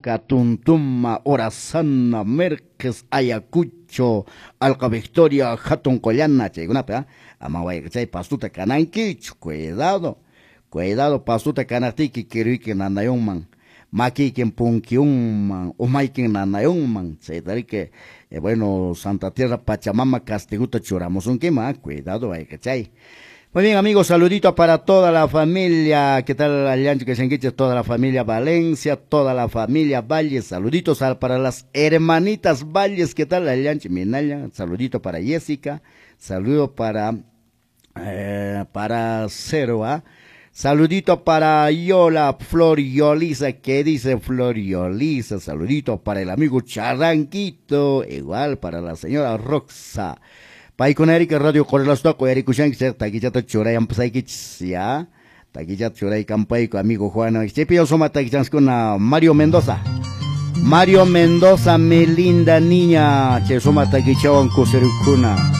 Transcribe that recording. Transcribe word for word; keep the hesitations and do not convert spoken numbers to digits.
Huanca, Tuntuma, Orazana, Merques, Ayacucho, Alca Victoria, Hatun Qollana, chaykunapi, ¿ah? Ama wayqichay pastuta kanankichu, cuidado, cuidado pastuta kanaqtiyki kiruyki nanayunman, makiykin punkiyunman, umaykin nanayunman, chaytariki, eh, bueno, Santa Tierra Pachamama castiguta churamusunkiman, ¿ah? Cuidado wayqichay. Muy bien, amigos, saludito para toda la familia. ¿Qué tal, Allancho Quesenquiche? Toda la familia Valencia, toda la familia Valles. Saluditos para las hermanitas Valles. ¿Qué tal, Allancho Minaya? Saludito para Jessica. Saludo para, eh, para Cero, ¿ah? Saludito para Yola, Flor Yolisa. ¿Qué dice Flor Yolisa? Saludito para el amigo Charranquito. Igual para la señora Roxa. Paykuna Erika Radio Correlastoco, Erikushanki, takichata churayampisaykichis, ya. Takichata churaykampayku, amigo Juan. Chaypi suma takichanskuna Mario Mendoza. Mario Mendoza, mi linda niña. Chay suma takichawan kusirukuna.